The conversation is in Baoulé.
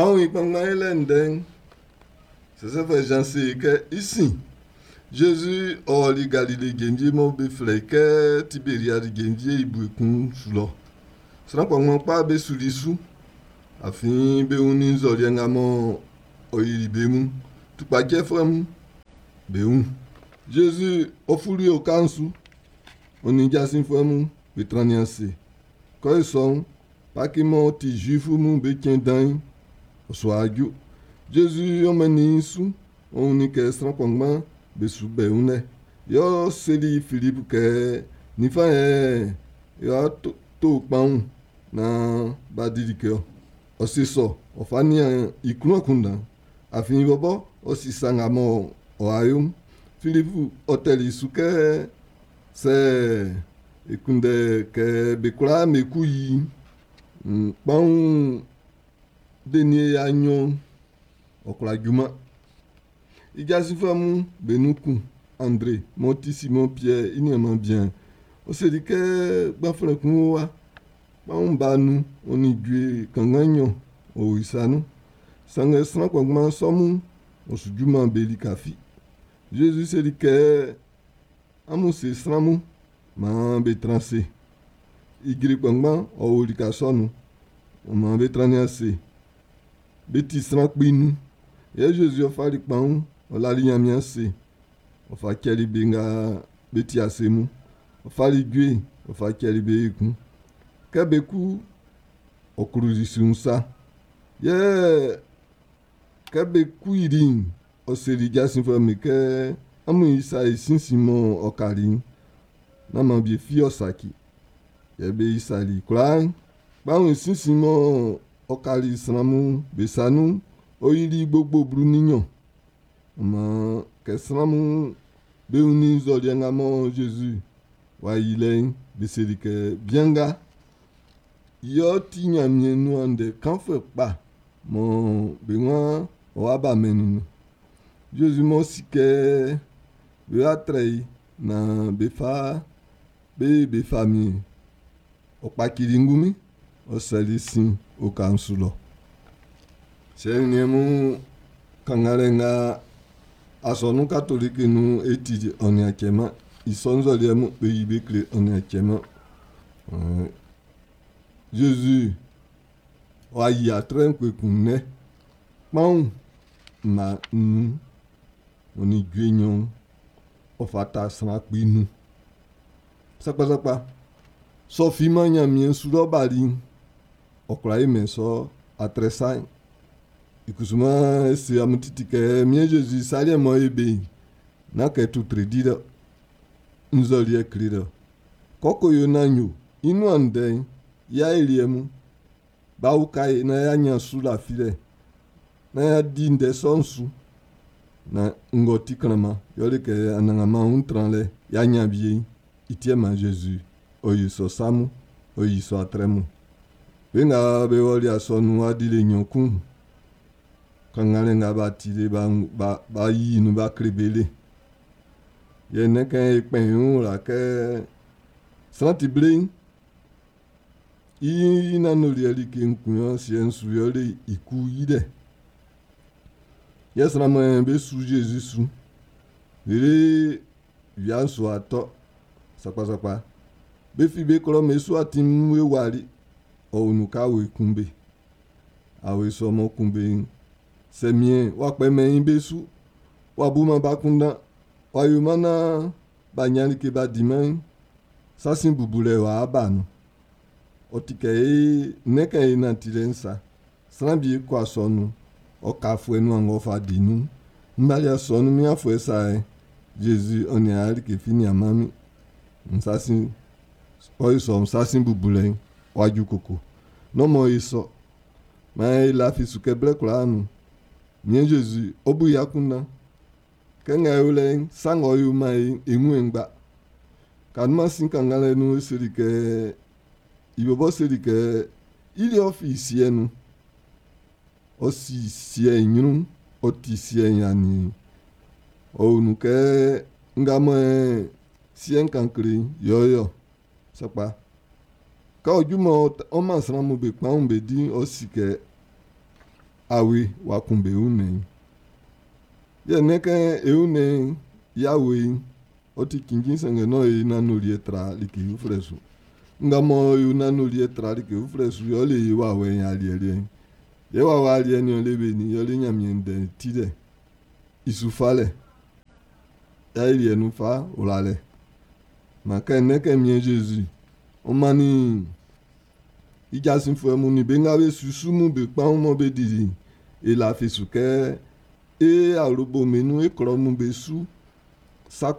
Kpanwun i kpanngban yilɛ ndɛ'n, Sɛsɛfuɛ Zan se e kɛ i sin, Zezi ɔ ɔli Galile jenvie mɔ be flɛ i kɛ Tiberiadi jenvie'n i bue kun su lɔ. Sran kpanngban kpa be suli i su, afin be wunnin nzɔliɛ nga mɔ ɔ yili be mun tukpacɛfuɛ'm be wun. Zezi ɔ fuli oka'n su, ɔ nin jasinfuɛ mun be trannin ase. Kɛ i sɔ'n, Paki m'ɔ ti Zuifu mun be cɛn dan'n, ɔ su wa ju. Zezi ɔ mɛnnin i su, ɔ wunnin kɛ sran kpanngban be su bɛ wun lɛ. Yɛ ɔ seli Filipu kɛ, ninfan yɛ e wa to kpanwun naan b'a di like ɔ. Ɔ se sɔ, ɔ fa nian i klun akunndan. Afin i bɔbɔ ɔ si sa nga mɔ ɔ wa yo'n. Filipu ɔ tɛli i su kɛ sɛ e kunndɛ kɛ be kwlaa be ku yi'n, kpanwun denie 200 ɔ kwla juman. I jasinfuɛ mun be nun kun, Andre m'ɔ ti Simɔn Piɛr i niaanman bian'n, ɔ seli kɛ gbanflɛn kun wo wa. Kpanwun 5 ɔ nin jue kanngan 2 ɔ o i sa nun. Sanngɛ sran kpanngban sɔ mun ɔ su juman be lika fi. Zezi seli kɛ, amun se sran mun maan be tran ase. Ijre kpanngban ɔ o lika sɔ'n nun. Ɔ maan be trannin ase. Be ti sran 5,000. Yɛ Zezi ɔ fali kpanwun, ɔ lali Ɲanmiɛn ase. Ɔ fa cɛli be nga be ti ase mun. Ɔ fali jue, ɔ fa cɛli be ekun. Kɛ be ku, ɔ kluli su'n sa. Yɛ kɛ be ku yili'n, ɔ seli jasinfuɛ'm be kɛ amun isa i sinsin mɔ ɔ kali'n, nán maan bie fi ɔ saci. Yɛ be isali i kwlaa'n. Kpanwun i sinsin mɔ ɔ kali sran mun be sa nun'n, ɔ yili gbogbo 12. Ɔ maan kɛ sran mun be wunnin nzɔliɛ nga mɔ Zezi w'a yi lɛ'n, be seli kɛ bian nga yɛ ɔ ti Ɲanmiɛn nuan ndɛ kanfuɛ kpa mɔ be waan ɔ wa ba mɛn'n nun'n. Zezi m'ɔ si kɛ be wa trɛ i naan be fa be famiɛn, ɔ kpacili ngunmin, ɔ sɛli sin oka'n su lɔ. Siɛ nin niɛn mun kannganlɛ nga asɔnun katoliki nun e ti ɔ nin a cɛman. I sɔ nzɔliɛ mun be yi be kle ɔ nin a cɛman. Zezi w'a yi atrɛ'n kpekun nnɛ. Kpanwun mma 5 ɔ nin jue 2 ɔ fata sran 5,000. Sakpasakpa, sɔ finman Ɲanmiɛn su lɔ bali'n, ɔ kwla yi mɛn sɔ atrɛ sa'n. I kusuman e se amun titi kɛ miɛn Zezi saliɛ mɔ e be'n, nán kɛ tutre di dɔ, nzɔliɛ kle dɔ. Kɔkɔ yo naan yo, i nuan ndɛ'n, i aeliɛ mun, b'a uka e naan y'a ɲan su lafilɛ, naan y'a di ndɛ sɔ'n su. Na ngɔ ti klanman, yɔle kɛ anannganman wun tranlɛ y'a ɲan wie'n, i tiɛ man Zezi, ɔ yi sɔ sa mun, ɔ yi sɔ atrɛ mun. Be nga be wɔli asɔnun wa dili 2 kun, kannganlɛ nga b'a ti le b'a yi nun b'a kle be le. Yɛ nnɛn kɛ e kpɛn i wun wla kɛ sran ti ble'n, i nanoliɛ like nkun yɔ siɛ'n su yɔle i ku yi dɛ. Yɛ sran mɔ be su Zezi su, lele wia'n su atɔ sakpasakpa. Be fi be klɔ me su atin mun e wali, ɔ wun ka awe kun be. Awe sɔ mɔ kun be'n, sɛ miɛn w'a kpɛmɛn i be su, w'a buman ba kundan, w'a yoman naan b'a ɲan like b'a diman'n, sasin bubulɛ w'a ba nun. Ɔ ti kɛ e nnɛn kɛ e nantilɛ'n sa. Sran bi kɔ asɔnun, ɔ ka afuɛ nuan ng'ɔ fa di nun. M bali asɔnun min afuɛ sa yɛ, Zezi ɔ nin a like fi nianman min. Nsasin, ɔ yi sɔ nsasin bubulɛ'n w'a ju koko. Nɔmɔ yi sɔ. Maan e lafi su kɛ blɛ kwlaa nun. Miɛn Zezi, ɔ bu i akunndan. Kɛ nga e o lɛ'n, sa ng'ɔ yo man e wun e ngba. Kanuma sin kannganlɛ nun e seli kɛ, i bɔbɔ seli kɛ, i liɛ ɔ fi siɛ nun. Ɔ si siɛ i ɲrun, ɔ ti siɛ i aniɛn. Ɔ wun kɛ nga mɔ siɛ'n kan kle yɛ ɔ yɔ. Sakpa. Kɛ ɔ ju mɔ ɔ man sran mun be kpanwun be di'n, ɔ si kɛ awe w'a kun be wunnɛn'n. Yɛ nɛ́n kɛ e wunnɛn'n i awe'n ɔ ti cinnjin sanngɛ nán e nanndoliɛ tra like uflɛ su. Nga mɔ e nanndoliɛ tra like uflɛ su yɛ ɔ le e wawɛ'n i aliɛ liɛ'n. Yɛ wawɛ aliɛ nin ɔ le be nin yɛ le Ɲanmiɛn ndɛ'n tilɛ, i su falɛ, i ayeliɛ nun fa wlalɛ. Man kɛ nɛ́n kɛ miɛn Zezi ɔ mannin i jasinfuɛ mun nin be nga be su su mun be kpanwun mɔ be dili'n, e lafi su kɛ e awlobo'm be nun e klɔ mun be su sa.